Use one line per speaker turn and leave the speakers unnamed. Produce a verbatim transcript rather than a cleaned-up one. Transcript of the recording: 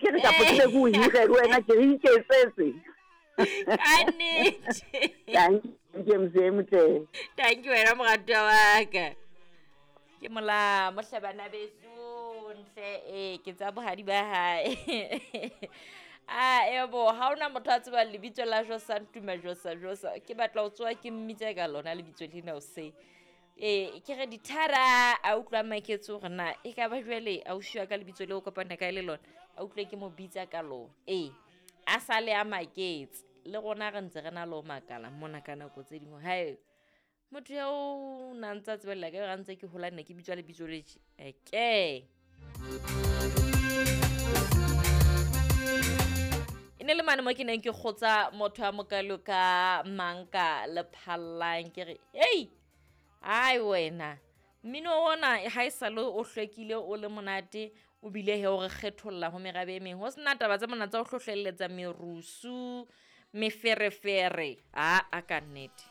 Ke re kapo ke be ke o hire le wena, ke re iketsetse.
Ka nnete.
Dankie mzee motle.
Thank you wena moratuwa wa ka. Ke mola mohle bana beso ntle ee ke tsa bohadi ba hae. A ebo ha hona motho a tsebang lebitso la Josa Ntuma Josa Josa, ke batla ho tsoha ke mmitse ka lona lebitso lena hoseng. Ee ke re dithara a utlwa maketse hore na e ka ba jwale ausi wa ka lebitso leo kopana kae le lona, a utlwe ke mo bitsa ka lona. Ee a sale a maketse le rona re ntse re na le ho makala mona ka nako tse dingwe. Hae motho eo na ntsa tsebella ka ha ntse ke hola nne ke bitswa lebitso le tje eke. E ne le mane mo ke neng ke kgotsa motho a mokalo ka Manka Lephallang, ke re hei ai wena mmino ona ha e sale o hlwekile o le monate, o bile he o re kgetholla ho merabe e meng, ho sena taba tse mona tsa ho hlohlelletsa merusu meferefere, aa ka nnete.